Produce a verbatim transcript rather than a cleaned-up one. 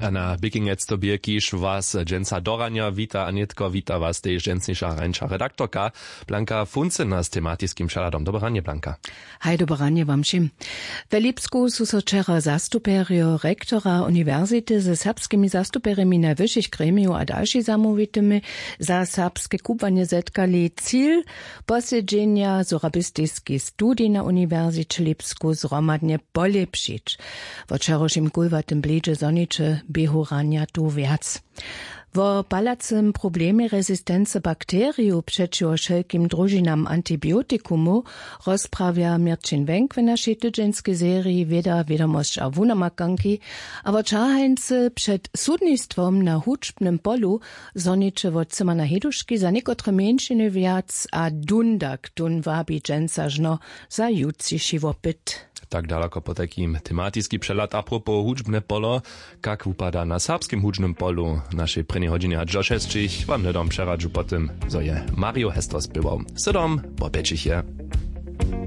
A na běkinjec to bě kiž was dźensa do ranja wita a nětko wita was tež dźensniša hrańša redaktorka blanka funcena z tematiskim přehladom. Dobre ranje blanka. Haj dobre ranje wam wšěm. We lipsku su so wčera zastupjerjo rektora uniwersity ze serbskimi zastupjerjemi najwyšich gremijow a dalšich zamołwitymi za serbske kubłanje zetkali. Cil posedźenja sorabistiski studij na uniwersiće lipsku zhromadnje polěpšić. Wo wčerawšim kulwatym blidźe zhoniće běhu ranja tu wjac. Wo palacym problemje rezistence bakterijow přećiwo wšelkim družinam antibiotikumow rozprawja měrćin wenk w našej tydźenskej seriji wěda wědomosć a wunamakanki. A wo ćahańcy před sudnistwom na hudźbnym polu zhoniće wot cymana heduški za někotre mjeńšiny wjac a dundak tón wabi dźensa žno za jutřiši wopyt. Tak daloko potajkim tematiski přehlad a propos hudźbne polo. Kak wupada na serbskim hudźbnym polu w našej prěnjej hodźinje hač do šesćich wam hnydom přeradźu po tym zo je mario hestro spěwał. Sydom po pjećich je.